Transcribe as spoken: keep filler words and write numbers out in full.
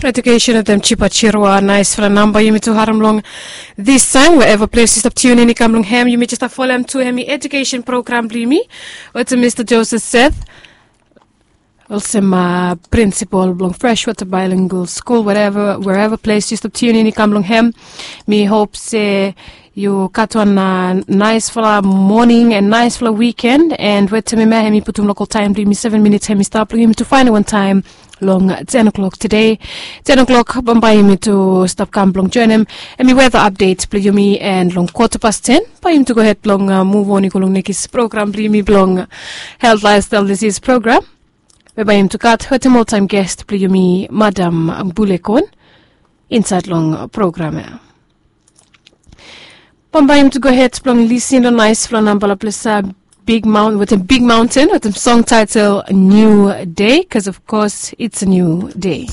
Edukesen wetem Chipa Chirua, naesfala namba yumi tu harem long this time, wherever ples yu stap tiunin i kam long hem, yumi jes stap folem tu hem i edukesen program blong yumi wetem Mista Joseph Seth, olsem prinsipal blong Freshwater Bilingual School, wherever ples yu stap tiunin i kam long hem. Mi hop se yu gat wan naesfala moning and naesfala wiken, and wetem mi, hem i putum lokal taem blong yumi seven minits hem i stap long yumi tu faenem wan taem long ten o'clock tede. Ten o'clock bambae yumi tu stap kam blong joenem hem i weta apdet blong yumi, and long kota pas ten bae yumi tu gohed blong muv on i go long nekis program blong yumi blong Health Lifestyle Disease Program, we bae yumi tu gat wetem oltaem gest blong yumi, Madam Bulekon, insaed long program ya. Bambae yumi tu gohed blong lisin long naesfala nambala ples, Big Mountain, wetem Big Mountain wetem song taetel New Day, 'cause of course it's a new day.